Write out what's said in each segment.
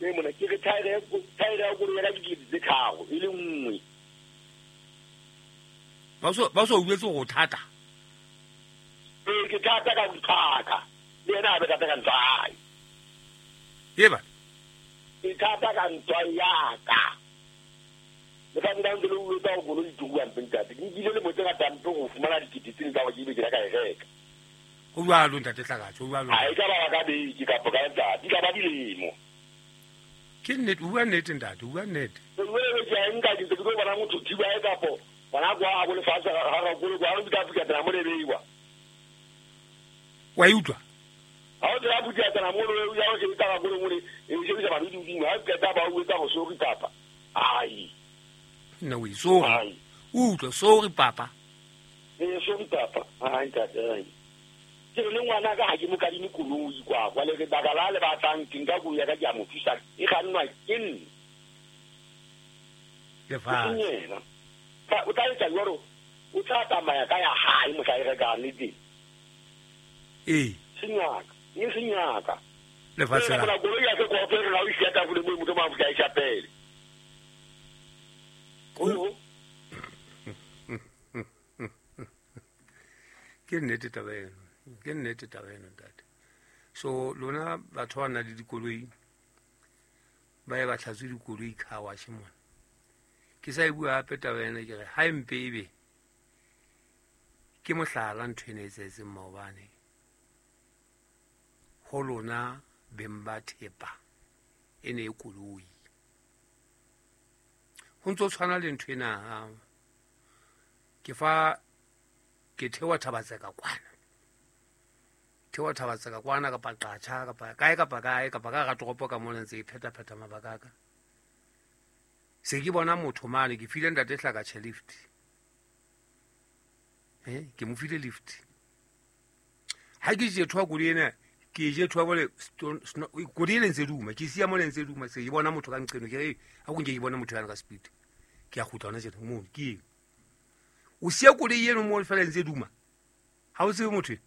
Ee mona ke re thaere ya koloi ya ka ke 3,000 e le nngwe. Ba so utlwetse gore o thata? Ee, ke thata ka nthaka. Le yena a be thata ka ntwa hae. Eba. Ke thata ka ntwa ya ka. Le ka nna ntse le utlwetsa gore koloi e turu hampe ntate. Ke nkile lemo tse ngata hampe go fumana dikete tsene tsa gore ke ebe ke ka e reka. Ho jwalo ntate Hlakatse, ho jwalo. Ha e ka ba ka beke kapa ka letsatsi, ka ba dilemo. Ke nnete, o bua nnete ntate, o bua nnete. Jwale ke a nka ke ntse ke tlo bona motho thiba e kapo gona kwa a bo lefatshe ga ga kolo kwa re ka phuka tsena mo le beiwa. Wa e utlwa? Ha o tsena phuka tsena mo le ya o shebisa ga kolo mo le e shebisa ba di hodimo ha qeta ba o etsa go sorry papa. Ai. Nna o sorry. O utlwa sorry papa. Ee sorry papa. Ai ntate ai. Ke re le ngwana ka ha ke mo kadime koloi kwa kwa le re baka la le batlang ke nka koloi ya ka ke a mo thusa e kgannwa ke nna. Lefatshe. Yena. O tla etsa jwalo, o tla tsamaya ka ya hae mohla e rekang le teng. Ee. Senyaka, e senyaka. Lefatshe la. Koloi ya sekoloto e rena o isiya tafole mo motho mang a e shapele. Ke nnete taba eno, ke nnete taba eno ntate. So lona batho ba nang le dikoloi ba ye ba tlhatswe dikoloi car wash mona. Ke sa e bua hape taba ena ke re ha e mpe ebe ke mohlala ntho ena e etsahetseng maobane ho lona beng ba thepa e ne e koloi. Ho ntso tshwana le ntho ena ke fa ke thewa Thabatseka kwana. Thewa Thabatseka kwana kapa Qacha kapa kae kapa kae kapa ka hara toropo ka mona ntse ke pheta-pheta mabaka a ka. Se ke bona motho mane ke file ntate Hlakatjhe lift. Ke mo file lift. Ha ke je thwa koloi ena ke je thwa bole koloi ena ntse duma ke siya mole ntse duma se ke bona motho ka nqeno ke re ha go nke ke bona motho yana ka speed. Ke a kgutla hona tjena mo ke eng. O siya koloi eno mo fela ntse duma. Ha o tsebe motho.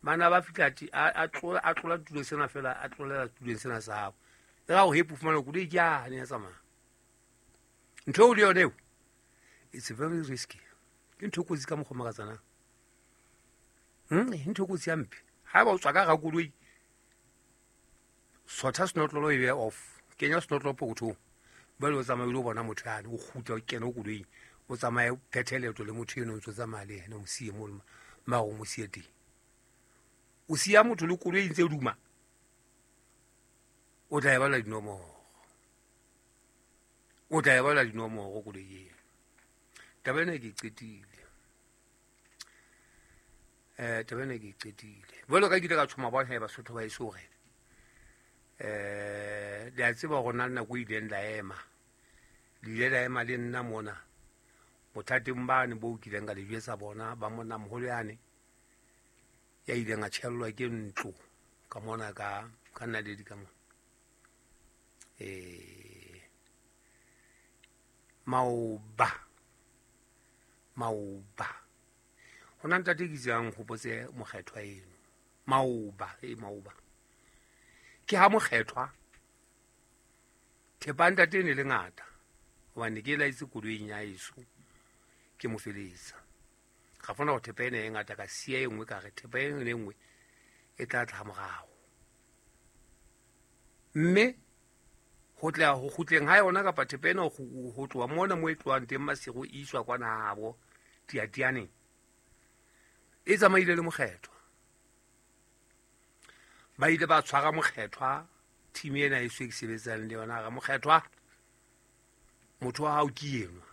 Mana ba fihla a tlola a tlola tulo sena fela a tlolela tulong sena sa hao. E ra o hepo fumana koloi ke a ne ya tsamaya. Ntho eo le yone eo it's very risky. Ke ntho e kotsi ka mokgwa makatsana. Ntho e kotsi hampe. Ha ba o tswa ka hara koloi sotha senotlolo e be off. Kenya senotlolo pokothong. Jwale o tsamaye o lo bona motho yane o kgutla o kena koloing o tsamaye o phethe leeto le motho eno o ntse o tsamaya le yena o mo siye mo mare o mo siye teng. O siya motho le koloi e ntse duma. O tla e bala dinomoro. O tla e bala dinomoro koloi eno. Taba ena ke qetile. Taba ena ke qetile. Jwalo ka ke ile ka tshoma bona he Basotho ba eso hore le a tseba hore na le nako e ileng la ema. Le ile la ema le nna mona bothateng bane bo kileng ka le jwetsa bona ba monna moholo yane ya ileng a tjhellwa ke ntlo ka mona ka naledi ka mona. Maoba maoba hona ntate ke tsang hopotse mokgethwa eno maoba maoba ke ha mokgethwa thepa ntate ne le ngata hobane ke laetse koloing ya eso ke mo feletsa ga fona go thepa ena e ngata ka sia e nngwe ka re thepa e nngwe nngwe e tla tla morao mme ho tla ho kgutleng ha yona kapa thepa ena ho tloha mona mo e tlohang teng Masego e iswa kwana habo Tiatianeng e tsamaile le mokgethwa. Ba ile ba tshwara mokgethwa team ena e se ke sebetsang le yona re mokgethwa motho wa hao ke enwa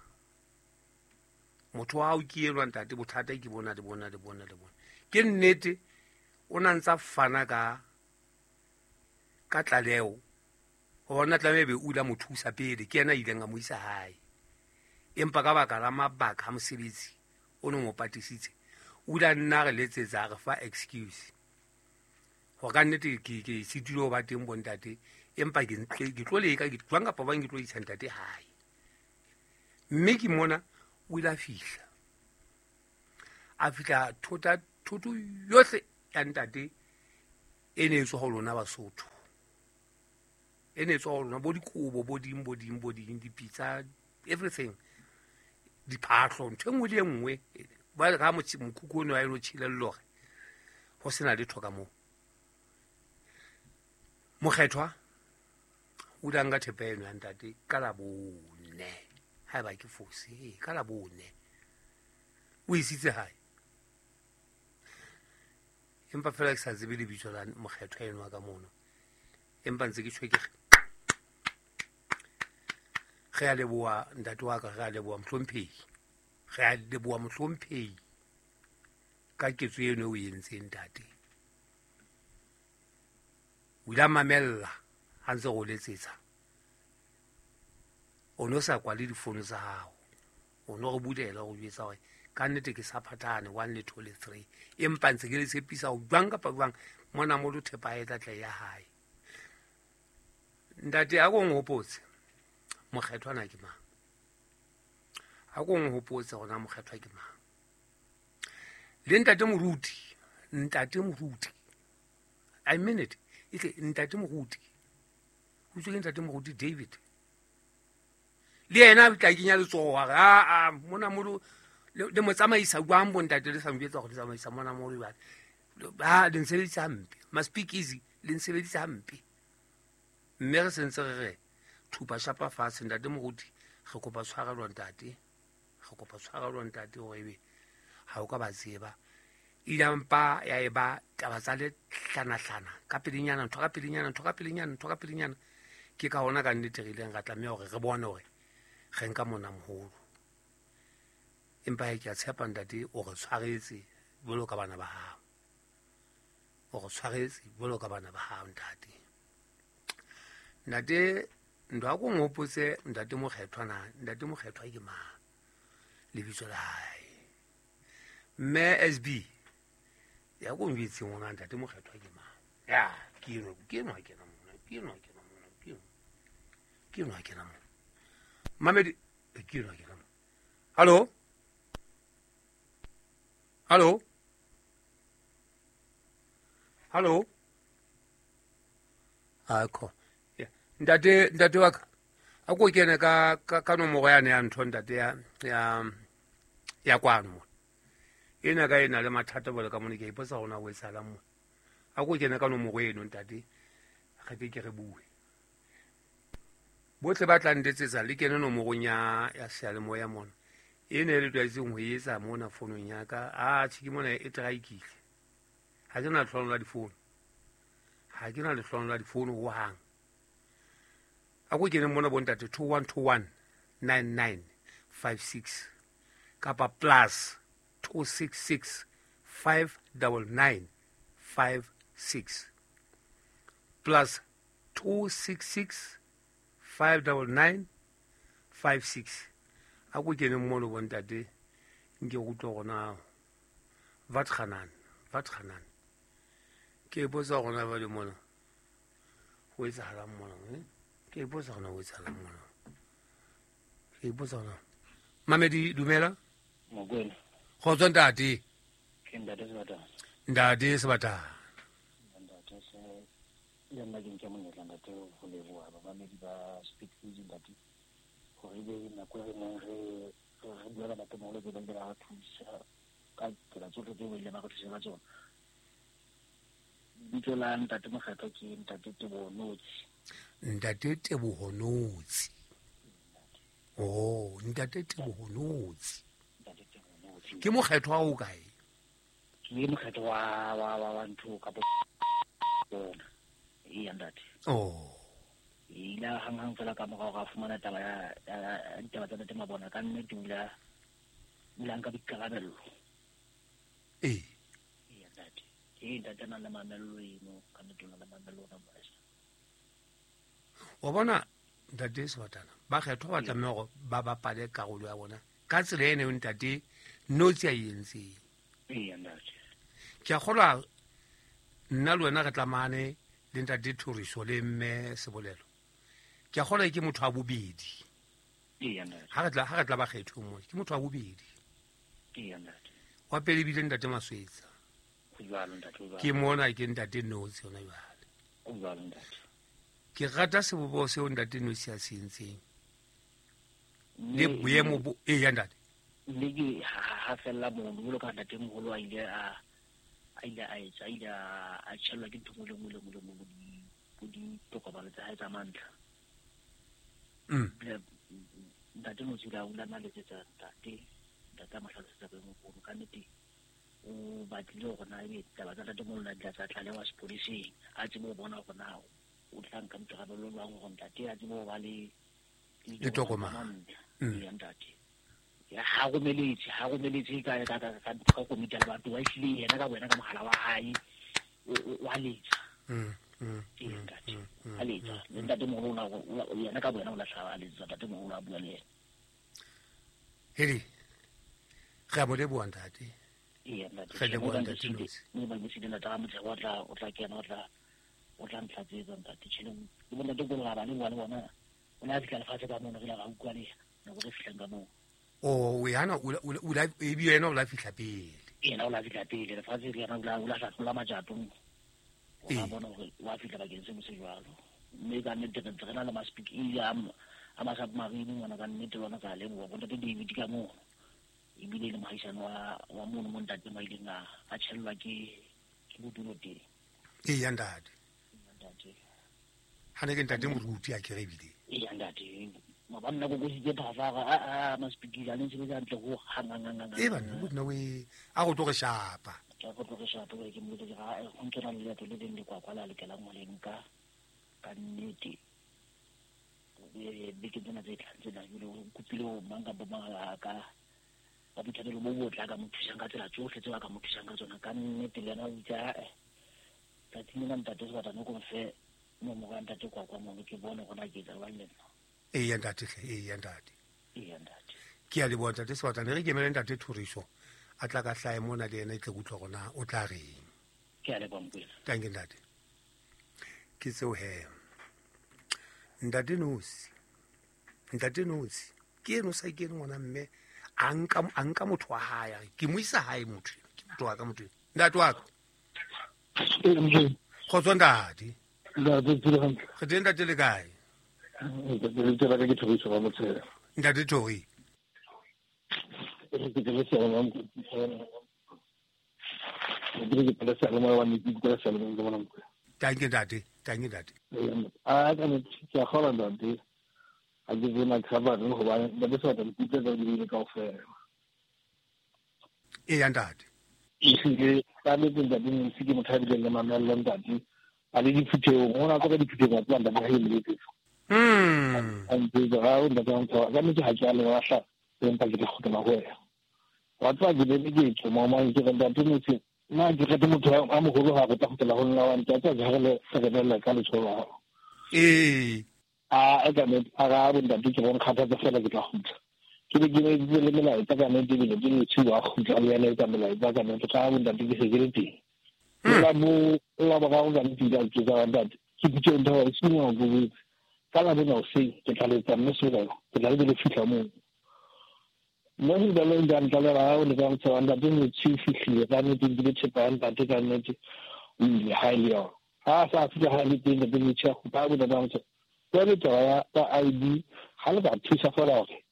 motho wa hao ke enwa ntate bothata ke bona le bona le bona le bona ke nnete o na ntsa fana ka tlaleho hobane tlameha be o ile a mo thusa pele ke yena a ileng a mo isa hae empa ka baka la mabaka a mosebetsi o no mo patisitse o ile a nna re letsetsa a re fa excuse hore ka nnete ke sitile ho ba teng bontate empa ke tlo leka ke jwang kapa bang ke tlo isa ntate hae mme ke mona o ile a fihla thota thoto yohle ya ntate e ne e tswa ho lona Basotho. E ne tswa ho lona bo dikobo bo ding bo ding bo ding dipitsa everything diphahlo ntho e nngwe le e nngwe ba ga mokhukhu ono a ilo tšhile lore go sena letho ka moo. Mokgethwa o ile a nka thepa eno ya ntate ka Labone, ha eba ke fose, ee, ka Labone o isitse hae, empa fela ke sa tsebe lebitso la mokgethwa eno wa ka mono, empa ntse ke tjho ke re a leboha ntate wa ka, re a leboha mohlomphehi, re a leboha mohlomphehi ka ketso eno o entseng ntate. O ile a mamella ha ntse re o letsetsa, o no sa kwale difono tsa hao, o no re bulela go jwetsa hore ka nnete ke sa phathane 1 le 2 le 3, empa ntse ke le tshepisa ho jwang kapa jwang mona mo lo thepa e tla tla ya hae. Ntate a ko nhopotse mokgethwa na ke mang, a ko nhopotse gona mokgethwa ke mang. Le ntate moruti, ntate moruti, I mean it, e ntate moruti, o tswe ke ntate moruti David, le yena a tla kenya letsoho a re aa mona molo le mo tsamaisa jwang bo ntate le sa njwetsa gore le tsamaisa mona molo jwale, ba le nsebedisa hampe, ma speak easy le nsebedisa hampe. Mme re sentse re re thupa shapa fatshe ntate moruti, re kopa tshwarelo ntate, re kopa tshwarelo ntate hore ebe ha o ka ba tseba. Ile mpa ya eba taba tsa le hlanahlana ka pelenyana, ntho ka pelenyana, ntho ka pelenyana, ntho ka pelenyana. Ke ka hona ka nnete re ileng ra tlameha hore re bone hore re nka mona moholo, empa ke a tshepa ntate o re tshwaretse jwalo ka bana ba hao, o re tshwaretse jwalo ka bana ba hao ntate. Ntate ntho a ko nhopotse ntate mokgethwa na, ntate mokgethwa ke mang lebitso la hae? Mme SB ya ko njwetseng ngwana ntate mokgethwa ke mang? Ya ke eno, ke eno ha kena mona, ke eno ha kena mona, ke eno, ke eno ha kena mona. Mamedi, ke eno ha kena mona. Hallo? Hallo? Hallo? Akho. Ntate, ntate wa ka, a ko kene ka ka nomoro yane ya ntho ntate ya ya ya kwano mo. Ena ka ena le mathata bole ka mone ke ipotsa hona ho etsahalang mo. A ko kene ka nomoro eno ntate, re ke ke re bue. Bohle ba tla ntetsetsa le kene nomorong ya ya seyalemoya mona. Ena e le tlwaetseng ho etsa mona fonong ya ka, a tjhe ke mona e traikile. Ha ke na lehlohonolo la difono, ha ke na lehlohonolo la difono hohang. A ko keneng mona bontate 2121 9956 kapa plus 266 599 56 plus 266 599 56. A ko keneng mono bontate nke go utlwe gona vatganan vatganan. Ke ipotsa gona ba le mona ho etsahalang mona, ke ipotsa gona ho etsahalang mona, ke ipotsa gona. Mamedi dumela. Mokwena. Kgotso ntate. Ke ntate Sebatana. Ntate Sebatana. Ntate se le nna ke nke monyetla ntate ho leboha bamamedi ba Speak Easy ntate, hore ebe nako e re neng re bua ka ntate moholo be ba ile ba re thusa ka tsela tsohle tseo ba ileng ba re thusa ka tsona. Lebitso la ntate mokgethwa ke ntate Teboho Notsi. Ntate Teboho Notsi. Oh, ntate Teboho Notsi. Ntate Teboho Notsi. Ke mokgethwa o kae? Ke mokgethwa wa wa wa wa ntho ka bona. Ee ntate. Oh. Ile hang hang fela ka morao ra fumana taba ya ditaba tsa ntate Mabona, ka nnete o ile a nka boikarabello. Ee. Ee ntate. Ee ntate na le mamello eno, ka nnete o na le mamello ona moesa. Wa bona ntate Sebatana, bakgethwa ba tlameha hore ba bapale karolo ya bona ka tsela eno eo ntate Notsi a e entseng. Ee ntate. Ke a kgolwa nna le wena re tlamahane le ntate Thoriso le mme Sebolelo. Ke a kgolwa ke motho wa bobedi. Ee ntate. Ha re tla bakgethweng mona, ke motho wa bobedi. Ee ntate. Wa pele ebile ntate Maswetsa. Ho jwalo ntate, ho jwalo. Ke mona ke ntate Notsi hona jwale. Ho jwalo ntate. Ke rata sebopeho seo ntate Nosi a se entseng. Le boemo bo e ya ntate. Mme ke ha fella mono jwalo ka ntate moholo a ile a etsa a ile a tjhellwa ke ntho nngwe le nngwe le nngwe le nngwe bo ditokomane tsa hae tsa mantlha. Ntate Nosi o ile a letsetsa ntate a mo hlalosetsa boemo bono ka nnete o batlile hore na ebe taba tsa ntate moholo na di tla tsa tlalewa sepoleseng a tsebe ho bona hore na o tla nka boikarabelo jwang hore ntate a tsebe ho ba le ditokomane ya ntate. Ha romeletse ka komiti ya lebatho wa ehlile yena ka boyena ka mohala wa hae wa letsa. Ntate a letsa le ntate moholo yena ka boyena o lahla a letsa ntate moholo a bua le yena. Hedi re a mo leboha ntate. Ee ntate re leboha ntate Nosi. Mme ba busile ntate ga motshego o tla kena o tla ntlatsetsa ntate. Tjhe le bo ntate ko ba le bona o ne a fihla lefatshe ka mono re la ra utlwa le yena nako re fihlang ka moo. O yana o la e bi yena o la fihla pele. Yena o la fihla pele lefatshe le yena o la hlatlola majato. O a bona hore wa fihla bakeng seno se jwalo. Mme ka nnete re ntse re na le ma-speak a ma-submarine ngwana ka nnete lona ka leboha bo ntate David ka mono. Ebile le mohaisane wa mono mo ntate mo ileng a tjhellwa ke bodulo teng. Ee ya ntate. Ha ne ke ntate moruti a kere ebile. Ee ya ntate. Mabanna go kositse phafa a ma-speak a le ntse hantle ho hang. E bana bo we a go tlo re shapa. Ke go tlo re shapa ke mo ke ga go ntse na le leeto le leng le kwa la lokelang ho le nka ka nnete. Beke tsena tse tlang tsena jwale o kopile ho mang kapa mang a ka ba boithatelo bo botle a ka mo thusang ka tsela tsohle tseo a ka mo thusang ka tsona ka nnete le yena o itse ae tsatsing lena ntate Sebatana ko mfe nomoro ya ntate kwa mono ke bone gona ke etsa jwang le nna. Ee ya ntate hle, ee ya ntate. Ee ya ntate. Ke a leboha ntate Sebatana, re kemele ntate Thoriso a tla ka hlahe mona le yena e tle kutlwa gona o tla reng. Ke a leboha Mokwena. Tanke ntate. Ke tseo he. Ntate Nosi. Ntate Nosi. Ke eno sa kene ngwana mme a nka motho wa hae a re ke mo isa hae motho. Ke motho wa ka motho. Ntate wa ka. Kgotso ntate. Ntate tsile hantle. Re teng ntate le kae? Ntate ke Thoriso wa Motshela. Ntate Thori. Tanke ntate, tanke ntate. A ka ne ke a kgola ntate. A ke tsena cover re hobane ntate se batla dipitsa tsa di kaofela. Ee ya ntate. Ehlile ka nnete ntate Nosi ke motho a bileng le mamello ntate. A le diphuthehong, ho na ka diphuthehong tsa ntate ha e le A ntse ga o ntate wa ntho ka nnete ha ke a le lahla empa ke tla kgutlela ho wena. Wa tseba ke be ke tsho mama ke re ntate Nosi nna ke rate motho a moholo ha re tla kgutlela ho nna wa ntate ha re le re ka letsholo la hao. Ee. A ka nnete a ga bo ntate ke bona kgathatsa fela ke tla kgutla. Ke be ke ne le melaetsa ka nnete ebile ke Nosi wa kgutla le yena etsa melaetsa ka nnete ka bo ntate ke se ke le teng. La bo la ba ga nnete ke tsa ntate ke pitse ntho e sengwe go botse. Ka la bona hoseng ke tla letsa mme Sebelelo ke tla le fihla moo. Mme Sebelelo o ile a ntlalela ha o le ka motshela ntate Nosi o fihlile ka nnete ke thepa ya ntate ka nnete o ile ha e le yona. Ha a sa fihla ha le teng ntate Nosi a kgutla a bona ba motshela. Jwale taba ya ID ha le ka thusa fela hore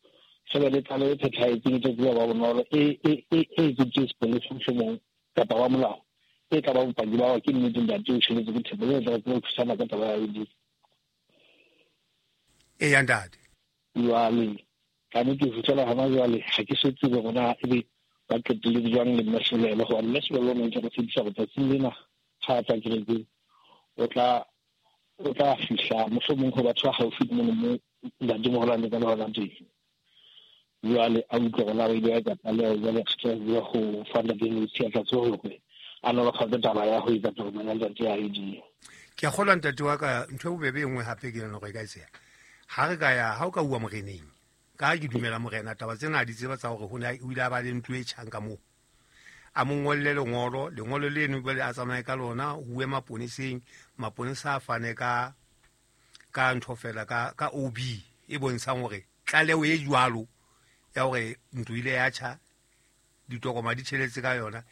re be le tlaleho e phethahetseng e tla tseba ba bonolo e etseditswe sepolesa mohlomong kapa wa molao e tla ba bopaki ba hore ke nnete ntate o tjheletse ke thepa jwale tla tseba ho thusana ka taba ya ID. Ee ya ntate. Jwale ka nnete ho fihlela hona jwale ha ke so tsebe hore na ebe ba qetelletse jwang le mme Sebelelo hobane mme Sebelelo o ne ntse re tshepisa hore tsatsing lena ha a tla kerekeng o tla fihla mohlomong ho batho ba haufi le mono mo ntate moholo a neng a le hona teng. Jwale a utlwe hore na ba ile ba etsa tlaleho jwale re tla bua ho fa ntate Nosi a tla tseba hore a nolofatse taba ya ho etsa tokomane ya ntate ya ID. Ke a kgolwa ntate wa ka ntho e bobebe e nngwe hape ke yona hore e ka etseha. Ha re ka ya ha o ka uwa moreneng ka ke dumela morena taba tsena a di tseba tsa hore ho ne o ile a ba le ntlo e tjhang ka moo. A mo ngolle lengolo leno jwale a tsamaye ka lona ho uwe maponeseng, maponesa a fane ka ntho fela ka OB e bontshang hore tlaleho e jwalo ya hore ntlo ile ya tjha ditokoma di tjheletse ka yona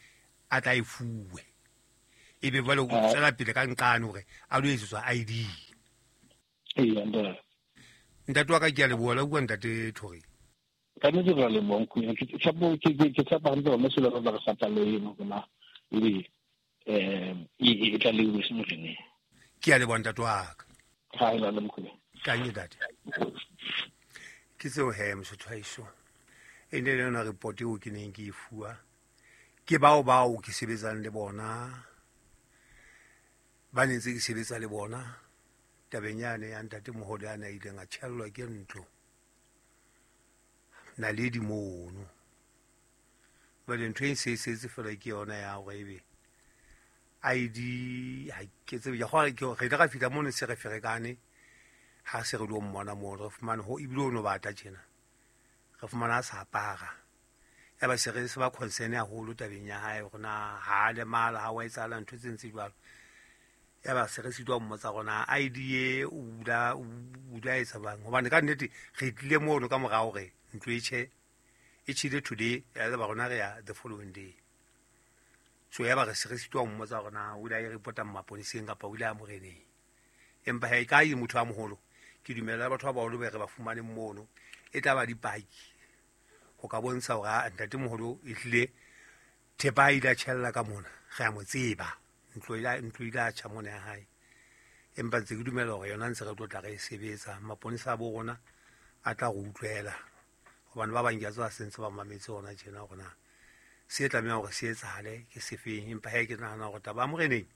a tla e fuwe. Ebe jwale o tswela pele ka nqane hore a lo etsetswa ID. Ee, ntate. Ntate wa ka ke a leboha la bua ntate Thori. Ka nnete re a leboha nkgono. Ke tshepo ke tshepa hantle hore mose le re sa tlalehe hore na ebe e tlalehilwe se moreneng. Ke a leboha ntate wa ka. Ha e le mkhulu. Kanye ntate. Ke tseo he mosotho wa heso. E ne le yona report eo ke neng ke e fuwa ke bao ke sebetsang le bona, ba ne ntse ke sebetsa le bona tabeng yane ya ntate moholo ya na ileng a tjhellwa ke ntlo naledi mono. Jwale ntho e se setse fela ke yona ya hore ebe ID ha ke tsebe ke gore ke re ile ra fihla mono se re ferekane ha se re lo mmona mono, re fumane ho ebile o no bata tjena, re fumana a sa apara. Ya ba se re se ba concern haholo tabeng ya hae hore na ha a lemala, ha wa etsahala ntho tse ntse jwalo. Ya ba se re sitwa mmotsa rona ID e o bula etsa bang, hobane ka nnete re tlile mono ka mora hore ntlo e tjhe, e tjhile today, ya ba rona re ya the following day. So ya ba re se re sitwa mmotsa rona o ile a e reporta maponeseng kapa o ile a moreneng. Empa ha e ka e motho a moholo, ke dumela batho ba baholo be re ba fumane mono, e tla ba dipaki ho ka bontsha hore ntate moholo e hlile thepa a ile a tjhella ka mona, re a mo tseba, ntlo ile a tjha mona ya hae. Empa ntse ke dumela hore yona ntse re tlo tla re e sebetsa, maponesa a bo rona a tla re utlwela, hobane ba bang ke a tseba se ntse ba mametse hona tjena hore na se tlameha hore se etsahale ke sefeng. Empa he ke nahana hore taba ya moreneng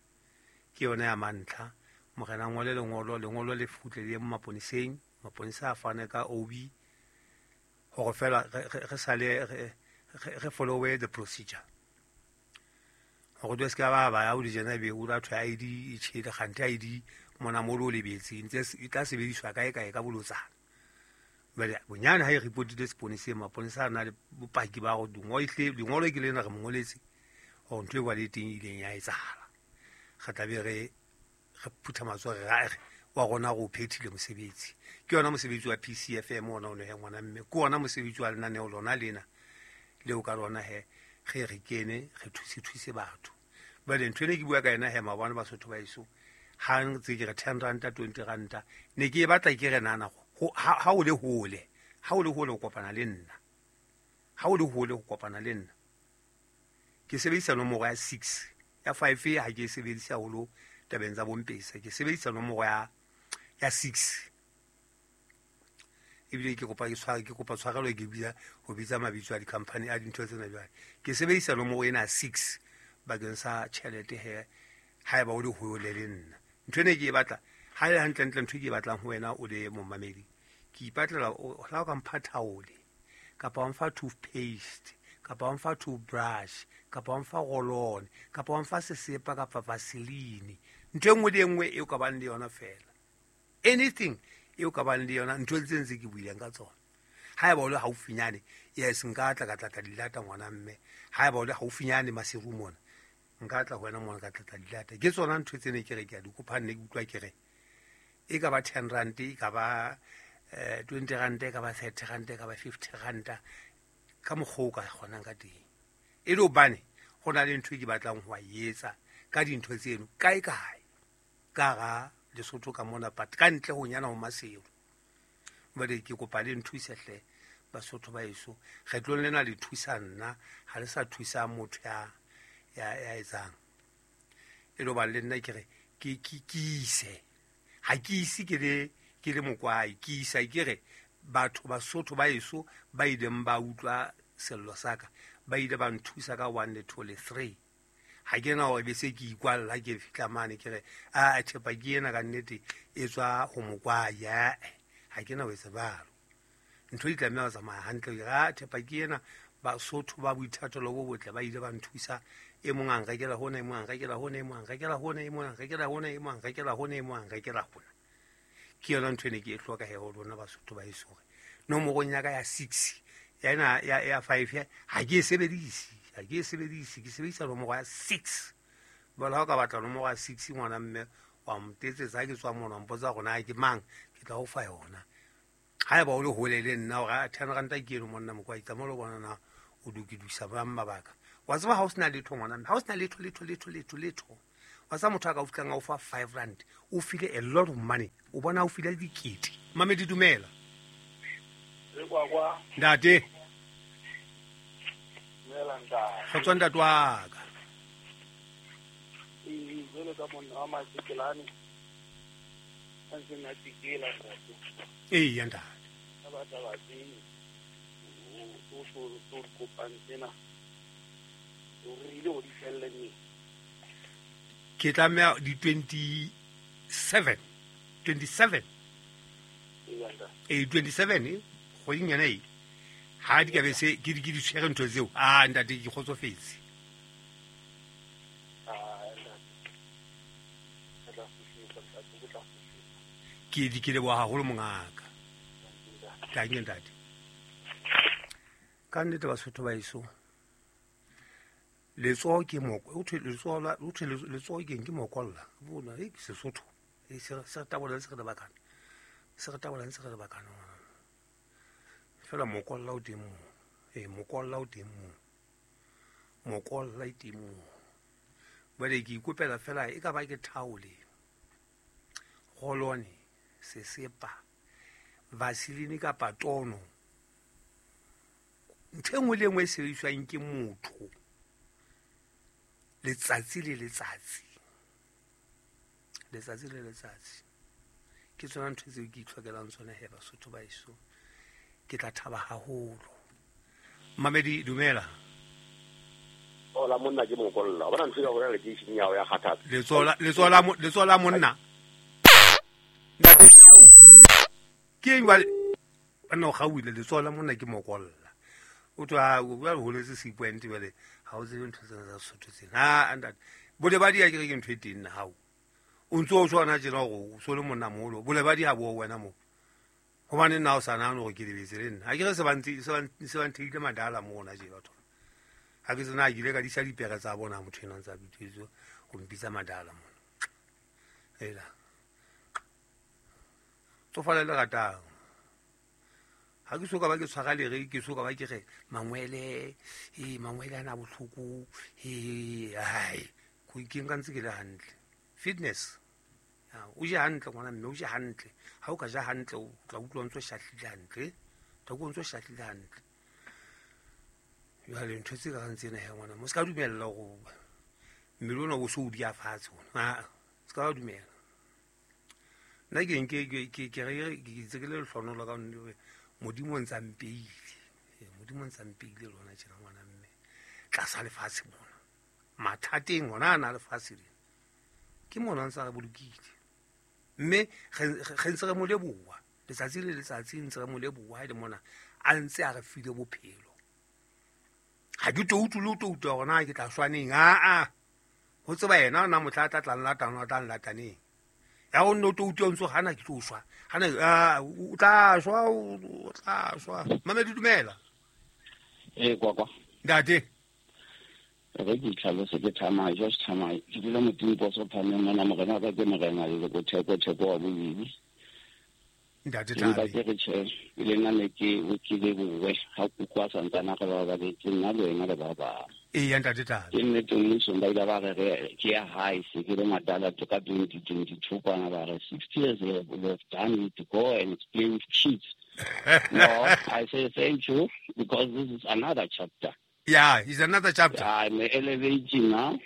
ke yona ya mantlha. Morena ngole lengolo, lengolo le kgutle le ye maponeseng, maponesa a fane ka OB hore fela re sale re follow the procedure. Hore do se ka ba ya o di jena be o la thwe ID e tjhele, kgante ID mona mo lo lebetse ntse e tla sebediswa kae kae ka bolotsana. Jwale bonyane ha e reportile seponeseng, maponesa a na le bopaki ba hore lengolo ke lena re mo ngoletse hore ntho e ba le teng ileng ya etsahala. Re tla be re phutha matsoho re re wa rona re o phethile mosebetsi. Ke yona mosebetsi wa PCFM ona o ne ngwana mme, ke ona mosebetsi wa lenaneo lona lena leo ka lona he re kene re thuse batho. Jwale ntho ene ke bua ka yena he maobane Basotho ba heso, ha ntse ke re 10 ranta 20 ranta ne ke e batla ke re nana ha o le hole, ha o le hole ho kopana le nna, ha o le hole ho kopana le nna, ke sebedisa nomoro ya 6 ya 5 ha ke e sebedise haholo tabeng tsa bompesa, ke sebedisa nomoro ya 6. Ebile ke kopa ke kopa tshwarelo ke bitsa ho bitsa mabitso a di-company a dintho tsena jwale. Ke sebedisa nomoro ena 6 bakeng sa tjhelete he haeba o le hole le nna. Ntho ene ke e batla ha le hantle ntle, ntho ke e batlang ho wena o le momamedi, ke ipatlela la o ka mpha thaole kapa wa mfa toothpaste kapa wa mfa toothbrush kapa wa mfa roll-on kapa wa mfa sesepa kapa vaseline, ntho e nngwe le e nngwe eo ka bang le yona fela, anything eo ka bang le yona, ntho tse ntse ke buileng ka tsona. Haeba o le haufinyane, yes, nka tla ka tlatla dilata ngwana mme. Haeba o le haufinyane Maseru mona, nka tla ho wena mona ka tlatla dilata. Ke tsona ntho tse ne ke re ke a di kopa, nne ke utlwa ke re e ka ba 10 rand, e ka ba 20 rand, e ka ba 30 rand, e ka ba 50 rand, ka mokgwa o ka kgonang ka teng. E le hobane ho na le ntho e ke batlang ho etsa ka dintho tseno kae kae ka hara Lesotho ka mona, but ka ntle ho nyana ho Maseru. Jwale ke kopa le nthuse hle Basotho ba heso, kgetlong lena le thusa nna, ha le sa thusa motho ya etsang. E le hoba le nna ke re ke ise, ha ke ise ke le mokwai, ke isa ke re batho Basotho ba heso ba ileng ba utlwa sello sa ka, ba ile ba nthusa ka 1 2 le 3. Ha ke na hore be se ke ikwalla ke fihla mane ke re a thepa ke ena ka nnete e tswa ho mokwai, ha ke na ho etsa jwalo. Ntho di tlameha ho tsamaya hantle. Ke re thepa ke ena, Basotho ba boithatelo bo botle ba ile ba nthusa, e mong a nrekela hona, e mong a nrekela hona, e mong a nrekela hona, e mong a nrekela hona, e mong a nrekela hona, e mong a nrekela hona. Ke yona ntho ene ke e hloka he ho lona Basotho ba heso hore nomorong ya ka ya 6 ya ena ya 5 ha ke e sebedise, ha ke e sebedise, ke sebedisa nomoro ya 6. Jwale ha o ka batla nomoro ya 6 ngwana mme wa ntetsetsa ha ke tswa mona, wa mpotsa hore na ke mang, ke tla o fa yona. Haeba o le hole le nna hore 10 ranta ke eno monna mokwai, tsamaya o lo bona na o lokisa bang mabaka. Wa tseba ha o sena letho ngwana mme, ha o sena letho letho letho letho letho, Wa sa motho a ka o fihlang a o fa 5 rand, o file a lot of money, o bona o file dikete. Mamedi dumela. Ntate. Dumela ntate. Kgotso ntate wa ka. Ee, jwalo ka monna wa Masekelane, a ntseng a tsikela ntate. Ee, ya ntate. Ka ba taba tse o so kopang tsena, o rerile go di felle neng? Ke tlameha di 27. 27. Ee, ntate. Ee, 27 kgweding yona e. Ha di ka be se ke di tshwere ntho tseo. Ah, ntate ke kgotsofetse. Ke di ke leboha haholo mongaka. Thank you ntate. Ka nnete Basotho ba heso. Letsoho ke moko, o thwe letsoho la, o thwe letsoho ke eng, ke mokolla. Bona, e Sesotho. E se re tabola se re lebakana. Se re tabola se re lebakana. Fela mokolla o teng moo. E mokolla o teng moo. Mokolla e teng moo. Jwale ke ikopela fela e ka ba ke thaole. Rolone, sesepa, vaseline kapa tono. Ntho e nngwe le e nngwe e sebediswang ke motho letsatsi le letsatsi. Letsatsi le letsatsi. Ke tsona ntho tseo ke itlhokelang tsona he Basotho ba heso. Ke tla thaba haholo. Mamedi dumela. Hola monna ke mokolla. Bona ntho ya hore lekeisheneng ya hao ya kgathatsa. Letsoho la monna. Ke eng jwale? Banna o kgaohile, letsoho la monna ke mokolla. O tswa o ba holetse C point jwale ha o tsebe ntho tsena tsa Sesotho tsena. Ha ntate. Bolebadi ha ke re ke ntho e teng nna hao. O ntso o tshwana tjena hore o so le monna moholo. Bolebadi ha bo wena mo. Hobane nna o sa nahane hore ke lebetse le nna. Ha ke re se ba ntheile madala mona je batho. Ha ke tsena ke ile ka disa dipere tsa bona motho ena ntsa bitso ho mpitsa madala mona. Ela. Tsofala le ratang. Ha ke soka ba ke tshwara lere, ke soka ba ke re mangwele, mangwele ana bohloko, ai, ke nka ntse ke le hantle. Fitness. O je hantle ngwana mme, o je hantle. Ha o ka ja hantle o tla utlwa o ntso shahlile hantle. Tla utlwa o ntso shahlile hantle. Jwale ntho tse ka reng tsena he ngwana, mo se ka dumella hore mmele ona o so o dia fatshe ona. Ha, se ka dumela. Nna ke nke ke re ke itse ke le lehlohonolo ka nnete Modimo o ntsa mpeile. Modimo o ntsa mpeile lona tjena ngwana mme. Tlasa lefatshe mona. Mathateng ona a na lefatshe lena. Ke mona ntsa re bolokile. Mme re ntse re mo leboha. Letsatsi le letsatsi ntse re mo leboha le mona a ntse a re file bophelo. Ha ke toutu le toutu hore na ke tla shwaneng. A ho tseba yena ona motla tla tla nlatang, o tla nlataneng. Ya o nno toutu o ntso hana ke tlo shwa. Hana o tla shwa, o tla shwa. Mamedi dumela. Eh kwa. Ntate. Re ke tlhalose ke thamai, just thamai. Ke dula moting poso phameng mona morena ka ke morena le go theko wa bobedi. Ntate Thabi. Ke re tjhe, le nna ne ke o kile bowe ha kuku a santsana re ba ba le nna le wena le ba ba. Ee, ntate Thabi. Ke nnete mmuso ba ile ba re ke ya hae se ke le madala to ka 2022 kwana ba re 60 years we have done it to go and play with kids. No, I say thank you because this is another chapter. Yeah, it's another chapter. I'm elevating now.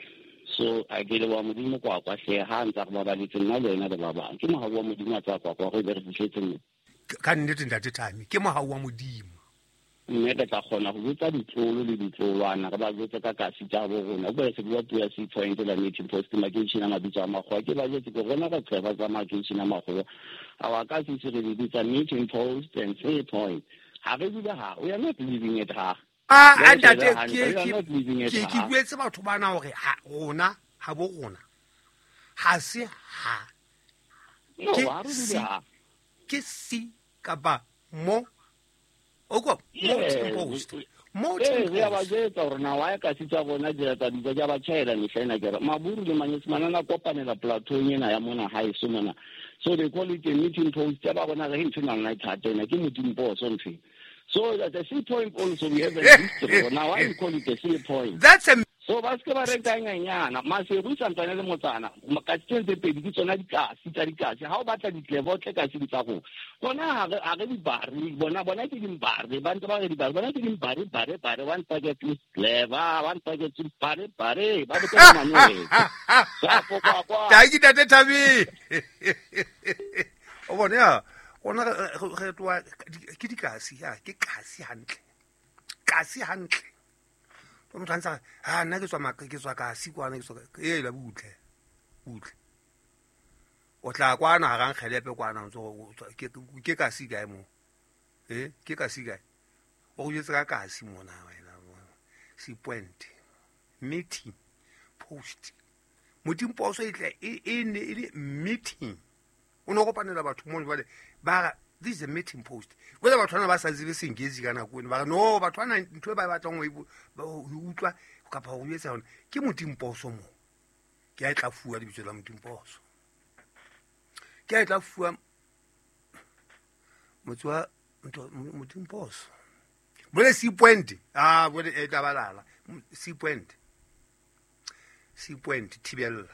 So I get wa modimo kwa kwa hle ha ntsa go ba le tsena le wena le ba bang. Ke mohau wa modimo a tsa kwa kwa go be re fihletse mo. Ka nnete ntate Thami, ke mohau wa modimo. Mme re tla kgona go botsa ditlolo le ditlolwana re ba jwetse ka kasi tsa bo rona. Go se bua puo ya C point la meeting post makeishene a mabitso a makgowa. Ke ba jwetse ke rona re tseba tsa makeishene a makgowa. Our kasi se re bitsa meeting post and C point. Ha re dula ha, we are not living it ha. Ah, ntate ke buetse batho bana hore ha rona ha bo rona ha se ha ke si kapa mo o ko post mo re ba jwetsa hore na wa ka sitsa bona dira tsa ditsa ja ba tjhaela mehlena ke re maburu le manyesemane na kopanela plateau ena ya mona ha eso mona. So they call it a meeting post ya ba bona re ntho na nna thata ena ke modimo poso ntho. So at the C point also we have a history. Now why we call it the C point? That's a So ba se ba reka nyanyana Maseru santsane le motsana ka tse pedi ke tsona dikasi tsa dikasi ha o batla ditlebo tle kasi tsa go bona ha re di bare bona ke dimbare ba ntse ba re di bare bona ke dimbare bare bare one packet with clever one packet with bare bare ba botsa manwe sa po kwa kwa ta ke tate Thabi o bona ya ona re twa ke dikasi ya ke kasi hantle kasi hantle motho a ntse a nna ke tswa kasi kwana ke tswa e la butle butle o tla kwana ha rang kgelepe kwana ntse ke kasi kae mo ke kasi kae o go jetse ka kasi mona wena si point meeting post modimo poso e tle e ne e le meeting o no kopanela batho mo jwale ba this is a meeting post whether batho bana ba sa tsebe sengezi ka nako eno ba re no batho bana ntho e ba batlang ho utlwa kapa ho etsa yona ke modimo poso mo ke a tla fuwa lebitso la modimo poso ke a tla fuwa motse wa modimo poso bole C point bole e tla balala C point C point thibella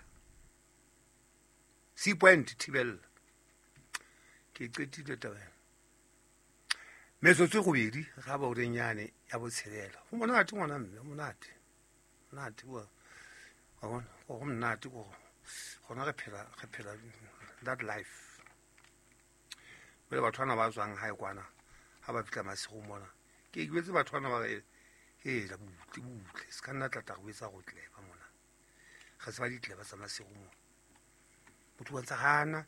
C point thibella ke qetile taba metsotso gobedi ga ba o renyane ya botshelela go monate ngwana mme monate monate wa bona go monate go gona re phela that life bele batho bana ba tswang hae kwana ha ba fitla masigo mona ke iketse batho bana ba re e la butle butle se ka nna tla go etsa go tleba mona ga se ba ditleba tsa masigo mona motho wa ntse gana